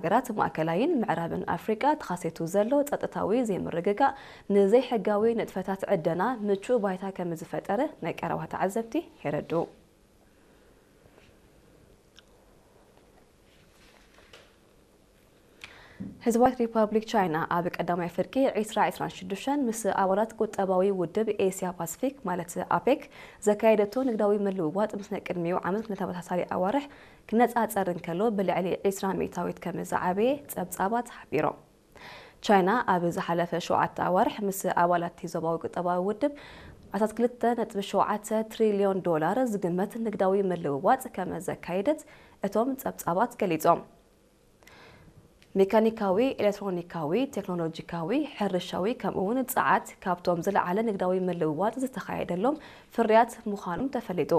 ሃገራት ማእከላይን ምዕራብን ኣፍሪቃ ተኸሲቱ ዘሎ ጸጥታዊ ዘይምርግጋእ ንዘይሕጋዊ ንጥፈታት ዕደና ምቹእ ባይታ ከም ዝፈጠረ ናይ ቀረባ ተዓዘብቲ የረድኡ። ህዝባዊት ሪፓብሊክ ቻይና ኣብ ቀዳማይ ፍርቂ ዒስራ ዒስራን ሽዱሽተን ምስ ኣባላት ቁጠባዊ ውድብ ኤስያ ፓሲፊክ ማለት ኣፔክ ዘካየደቶ ንግዳዊ ምልውዋጥ ምስ ናይ ቅድሚኡ ዓመት ንተመሳሳሊ ኣዋርሕ ክነጻጸር እንከሎ ብልዕሊ ዒስራ ሚእታዊት ከም ዝዓበየ ጸብጻባት ሓቢሮም። ቻይና ኣብ ዝሓለፈ ሸውዓተ ኣዋርሕ ምስ ኣባላት እቲ ዞባዊ ቁጠባዊ ውድብ ዓሰርተ ክልተ ነጥቢ ሸውዓተ ትሪልዮን ዶላር ዝግመት ንግዳዊ ምልውዋጥ ከም ዘካየደት እቶም ጸብጻባት ገሊጾም። ሜካኒካዊ፣ ኤሌክትሮኒካዊ፣ ቴክኖሎጂካዊ፣ ሕርሻዊ ከምኡውን ጸዓት ካብቶም ዝለዓለ ንግዳዊ ምልውዋጥ ዝተኻየደሎም ፍርያት ምዃኖም ተፈሊጡ።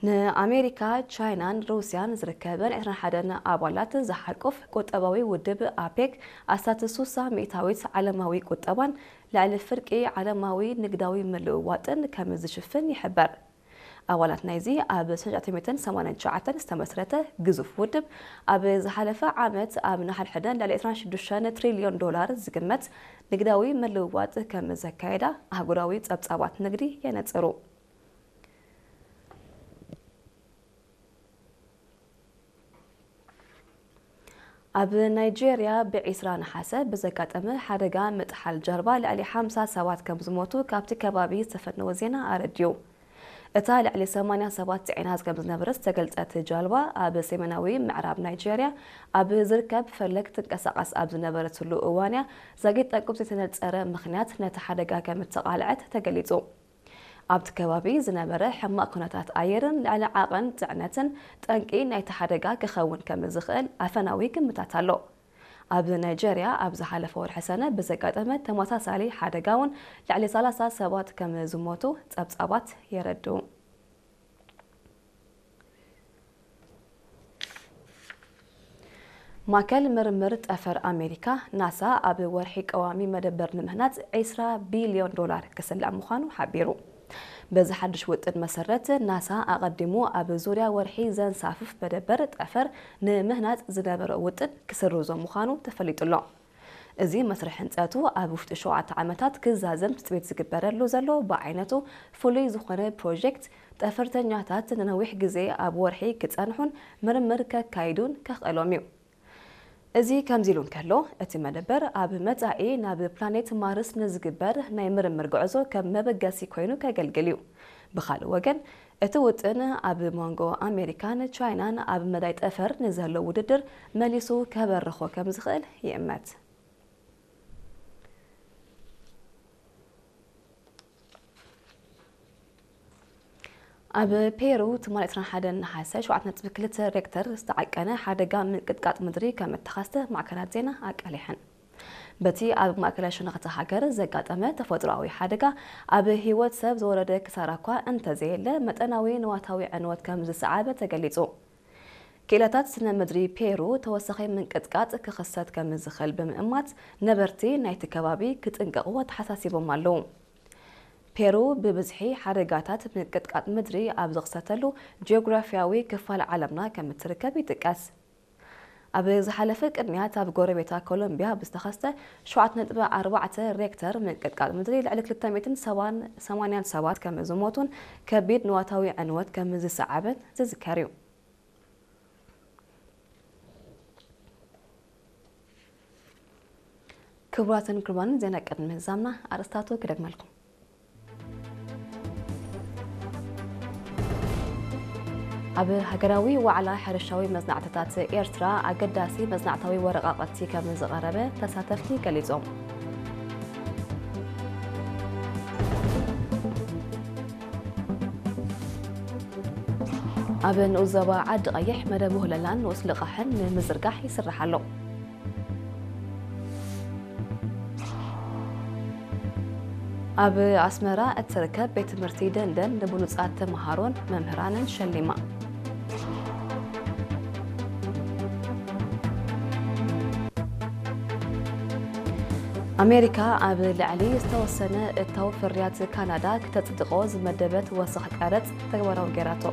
ንኣሜሪካ፣ ቻይናን ሩስያን ዝርከበን ዕስራን ሓደን ኣባላት ዝሓቁፍ ቁጠባዊ ውድብ ኣፔክ ኣስታት ሱሳ ሚእታዊት ዓለማዊ ቁጠባን ልዕሊ ፍርቂ ዓለማዊ ንግዳዊ ምልውዋጥን ከም ዝሽፍን ይሕበር። ኣባላት ናይዚ ኣብ ሽሕን ትሽዓተ ሚእትን ሰማንያን ትሽዓተን ዝተመስረተ ግዙፍ ውድብ ኣብ ዝሓለፈ ዓመት ኣብ ንሓድሕደን ልዕሊ ዕስራን ሽዱሽተን ትሪልዮን ዶላር ዝግመት ንግዳዊ ምልውዋጥ ከም ዘካየዳ ኣህጉራዊ ጸብጻባት ንግዲ የነጽሩ። ኣብ ናይጄርያ ብዒስራ ነሓሰ ብዘጋጠመ ሓደጋ ምጥሓል ጃልባ ልዕሊ ሓምሳ ሰባት ከም ዝሞቱ ካብቲ ከባቢ ዝተፈነወ ዜና ኣረድዩ። እታ ልዕሊ ሰማንያ ሰባት ጽዒና ከም ዝነበረት ዝተገልጸት ጃልባ ኣብ ሰሜናዊ ምዕራብ ናይጄርያ ኣብ ዝርከብ ፈለግ ትንቀሳቐስ ኣብ ዝነበረትሉ እዋንያ ዛጊት ጠንቁ ብዘይተነጸረ ምኽንያት ነቲ ሓደጋ ከም እተቓልዐት ተገሊጹ። ኣብቲ ከባቢ ዝነበረ ሕማቕ ኩነታት ኣየርን ልዕሊ ዓቐን ጽዕነትን ጠንቂ ናይቲ ሓደጋ ክኸውን ከም ዝኽእል ኣፈናዊ ግምታት ኣሎ። ኣብ ናይጄርያ ኣብ ዝሓለፈ ወርሒ ሰነ ብዘጋጠመ ተመሳሳሊ ሓደጋ እውን ልዕሊ ሰላሳ ሰባት ከም ዝሞቱ ጸብጻባት የረድኡ። ማእከል ምርምር ጠፈር ኣሜሪካ ናሳ ኣብ ወርሒ ቀዋሚ መደበር ንምህናጽ ዒስራ ቢልዮን ዶላር ክስላዕ ምዃኑ ሓቢሩ። በዚ ሓድሽ ውጥን መሰረት ናሳ ኣቐዲሙ ኣብ ዙርያ ወርሒ ዘንሳፍፍ መደበር ጠፈር ንምህናጽ ዝነበሮ ውጥን ክስርዞ ምዃኑ ተፈሊጡ ኣሎ። እዚ መስርሕ ህንጸቱ ኣብ ውሽጢ ሸውዓተ ዓመታት ክዛዘም ትጽቢት ዝግበረሉ ዘሎ ብዓይነቱ ፍሉይ ዝኾነ ፕሮጀክት፣ ጠፈርተኛታት ንነዊሕ ግዜ ኣብ ወርሒ ክጸንሑን ምርምር ከካይዱን ከኽእሎም እዩ። እዚ ከምዚ ኢሉ እንከሎ፣ እቲ መደበር ኣብ መጻኢ ናብ ፕላኔት ማርስ ንዝግበር ናይ ምርምር ጉዕዞ ከም መበገሲ ኮይኑ ከገልግል እዩ። ብኻልእ ወገን፣ እቲ ውጥን ኣብ መንጎ ኣሜሪካን ቻይናን ኣብ መዳይ ጠፈር ንዘሎ ውድድር መሊሱ ከበርኾ ከም ዝኽእል ይእመት። ኣብ ፔሩ ትማሊ ዕስራን ሓደን ነሓሰ ሸውዓተ ነጥቢ ክልተ ሬክተር ዝተዓቀነ ሓደጋ ምንቅጥቃጥ ምድሪ ከም እተኸስተ ማዕከናት ዜና ኣቃሊሐን። በቲ ኣብ ማእከላይ ሸነኽ እታ ሃገር ዘጋጠመ ተፈጥሮኣዊ ሓደጋ ኣብ ህይወት ሰብ ዝወረደ ክሳራ እኳ እንተዘየለ መጠናዊ ንዋታዊ ዕንወት ከም ዝሰዓበ ተገሊጹ። ክኢላታት ስነ ምድሪ ፔሩ ተወሳኺ ምንቅጥቃጥ ክኽሰት ከም ዝኽእል ብምእማት ነበርቲ ናይቲ ከባቢ ክጥንቀቑ ኣተሓሳሲቦም ኣለዉ። ፔሩ ብብዝሒ ሓደጋታት ምንቅጥቃጥ ምድሪ ኣብ ዝኽሰተሉ ጂኦግራፊያዊ ክፋል ዓለምና ከም እትርከብ ይጥቀስ። ኣብ ዝሓለፈ ቅንያት ኣብ ጎረቤታ ኮሎምቢያ ብዝተኸስተ ሸውዓተ ነጥቢ ኣርባዕተ ሬክተር ምንቅጥቃጥ ምድሪ ልዕሊ ክልተ ሚእትን ሰማንያን ሰባት ከም ዝሞቱን ከቢድ ንዋታዊ ዕንወት ከም ዝሰዓበን ዝዝከር እዩ። ክቡራትን ክቡራንን፣ ዜና ቅድሚ ምህዛምና ኣርእስታቱ ክደግመልኩም። ኣብ ሃገራዊ ዋዕላ ሕርሻዊ መጽናዕትታት ኤርትራ ኣገዳሲ መጽናዕታዊ ወረቓቕቲ ከም ዝቐረበ ተሳተፍቲ ገሊጾም። ኣብ ንኡስ ዞባ ዓዲ ቀይሕ መደብ ውህለላን ንኡስ ልቓሕን ንምዝርጋሕ ይስራሕ ኣሎ። ኣብ ኣስመራ እትርከብ ቤት ትምህርቲ ደንደን ንብሉጻት ተምሃሮን መምህራንን ሸሊማ። ኣሜሪካ ኣብ ልዕሊ ዝተወሰነ እታው ፍርያት ካናዳ ክተጽድቖ ዝመደበት ወሰኽ ቀረጽ ተግባራዊ ገይራቶ።